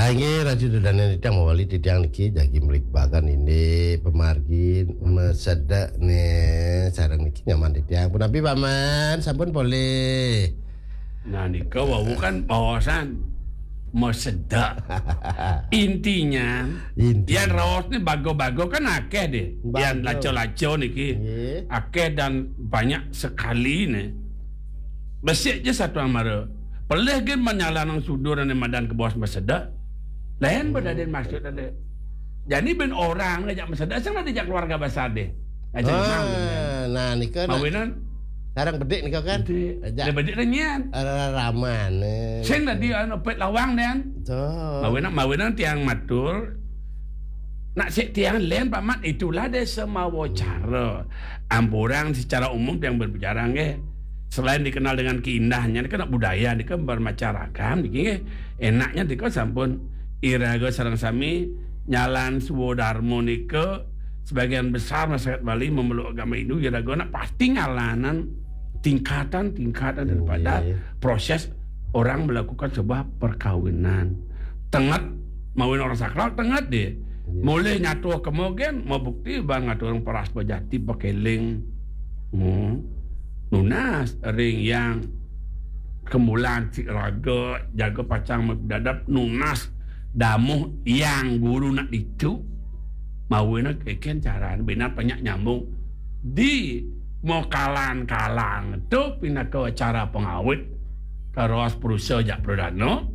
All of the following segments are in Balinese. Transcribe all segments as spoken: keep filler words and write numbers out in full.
Inggih, Ratu Dodane titiang mawali titiang niki jagi mligbagan indik pamargi masedek ne sareng niki nyaman titiang. Punapi Paman, sampun polih? Nah, nika wau kan baosan masedek. Intinya, intinya, yan raos ni baga-baga kan akeh deh. Yan laca-laca niki. Nggih. Akeh dan banyak sekali ne. Besik je satu amara. Pelih gin manyalanang sudur ane madan kebaos masedek. Lain bedadin maksud ade. Jani ben orang ngajak masedek, sing ade jak keluarga besar deh. Ajak imam. Ah, nah, nika nak mawinan sarang bedik nika kan? Bedik. Ajak. Dia bedik dah nyian. Raraman, eh. Sing tadi anu pet lawang dan. Tuh. Mawinan, mawinan tiang matur. Nak sik tiang len Pak Mat, itulah desa mawa cara. Ampurang secara umum tiang berbicara nggih. Selain dikenal dengan keindahannya, ini kan budaya, ini kan bermacam ragam, niki nggih. Enaknya nika sampun iraga sareng sami nyalan swadarma nika sebagian besar masyarakat Bali memeluk agama Hindu, iraga nak pasti ngalanan tingkatan-tingkatan daripada proses orang melakukan sebuah perkawinan. Tenget, mawin orang sakral, tenget deh. Iya. Mulih nyatuh kemogen, mau bukti bang ngatur orang peras bejati pakeling. Hmm. Nunas ring yang kemulan si raga, jaga pacang dadap nunas damuh yang guru nak ditu. Mawina keken caran, bina banyak nyambung. Di mokalan kalang tu pinaka acara pengawit karos perusa jak pradana.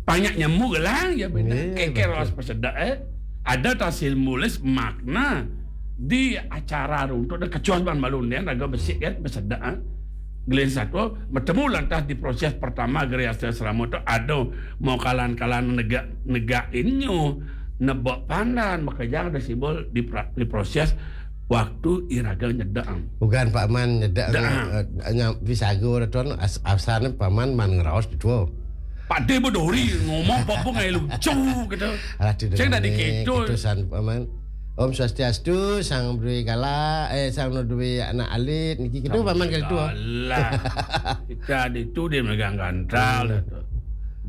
Banyak nyambung gelang ya bina. Iya, keken betul. Ros pesedak, eh. Ada tasil mulis makna di acara runtuk dan kecuas ban balun dia raga besik kan pesedak, eh. Gelin satu bertemu lantas di proses pertama geriasa selama tu ada mau kalan-kalan negak negak inyo nebak pandan makajang ada simbol di, pra- di proses waktu iraga nyedang. Bukan Pak Man nyedang, eh, nya pisago dah tuan as, asal Pak Man man ngeraos di tua. Pak De bedori ngomong apa pun ngai lucu gitu. Alah tidak. Saya tadi gitu. Gitu san Pak Man. Om Swastiastu, sang berdua gala, eh sang berdua anak alit niki gitu Pak Man kali tua. Alah. Kita di tu dia megang gantral tu.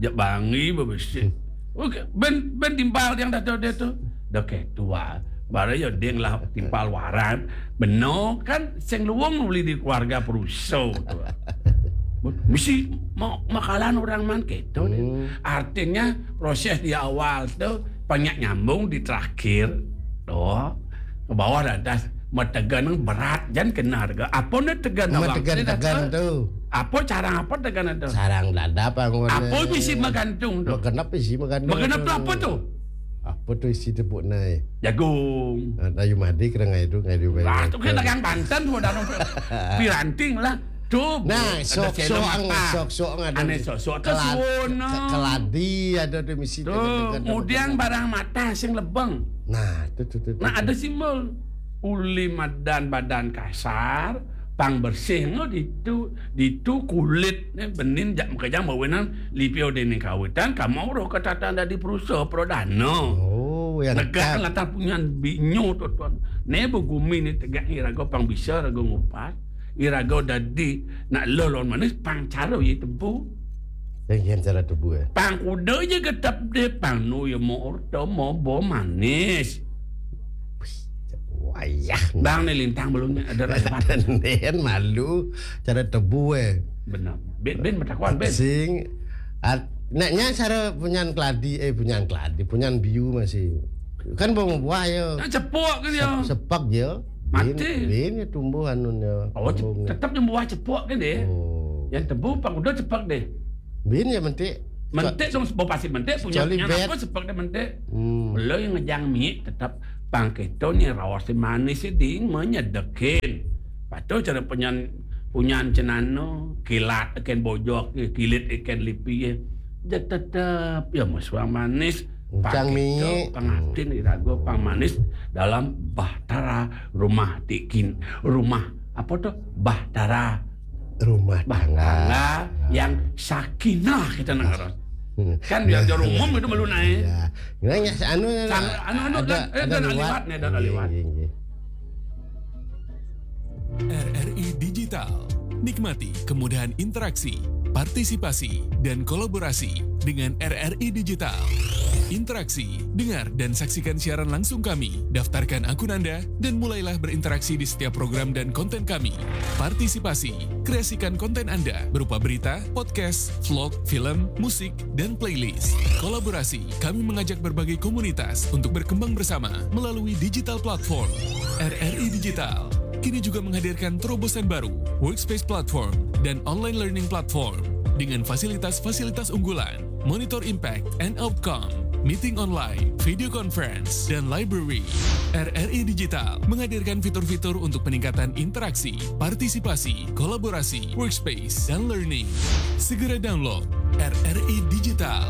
Jak bangi bebesik. Okey, ben ben timpal yang dah tu dia tu. Dah ke tua. Baru ya ding lah timpal waran. Beno kan sing luwung uli di keluarga peruso tu. Mesti mau makalan orang man keto dia. Hmm. Artinya proses di awal tu banyak nyambung di terakhir. Doh. Ke bawah dah atas. Mategan berat jan kena harga. Apa ni tegan awak? Mategan tegan tu. Apa carang apa tegan tu? Sarang dadap anggon. Apa bisi magantung tu? Magenep bisi magantung. Magenep tu apa tu? Apa tu isi tepuk nai? Jagung. Ayu madi kena ngai tu ngai tu. Lah tu kena dagang banten tu dah piranting lah. Tu nah sok sok sok sok ada. Ane sok sok tu suwono. Keladi ada tu misi tu. Kemudian barang matah sing lebeng. Nah, tu tu tu. Nah, ada simbol. Uli madan badan kasar, pang bersih ngo ditu ditu kulit ne benin jak makejang mawinan lipio dening kawitan kamau roh katatan dadi perusa pradana. Oh, yang negak latar punyan binyo tu tuan. Ne begumi ni tegak ni raga pang bisa raga ngupas. Iraga dadi nak lelon manis pang cara ye tebu. Yang cara tebu eh. Pang kuda je getap de pang nu ye mo orta mo bo manis. Wayah. Bang ni lintang belum ada rapat. Nen malu cara tebu eh. Benar. Ben ben matakuan ben. Sing at, nak nya cara punyan keladi eh punyan keladi punyan biu masih. Kan bawang buah ya. Nak cepok ke dia? Sepak ya. Mati. Bin ya tumbuh anun ya. Oh, tetap yang buah cepok kan dia. Oh. Yang tebu pang udah cepok deh. Bin ya mentik. Mentik dong sebab pasti mentik punya apa cepok deh mentik. Hmm. Lo yang ngejang mi tetap pang keto ni rawas manis ding menyedekin. Patu cara punyan punyan cenano kilat ikan bojok kilit ikan lipi ya. Dia tetap ya mesua manis. Ucang mi pangatin irago pang manis dalam bahtara rumah tikin rumah apa tu bahtara rumah tangga yang sakinah kita nak kan biar dia umum itu malu naik. Ya. Anu anu anu ada, ada liwat ni ada liwat. R R I Digital. Nikmati kemudahan interaksi, partisipasi, dan kolaborasi dengan R R I Digital. Interaksi, dengar dan saksikan siaran langsung kami. Daftarkan akun Anda dan mulailah berinteraksi di setiap program dan konten kami. Partisipasi, kreasikan konten Anda berupa berita, podcast, vlog, film, musik, dan playlist. Kolaborasi, kami mengajak berbagai komunitas untuk berkembang bersama melalui digital platform. R R I Digital kini juga menghadirkan terobosan baru, workspace platform, dan online learning platform dengan fasilitas-fasilitas unggulan, monitor impact and outcome, meeting online, video conference, dan library. R R I Digital menghadirkan fitur-fitur untuk peningkatan interaksi, partisipasi, kolaborasi, workspace, dan learning. Segera download R R I Digital.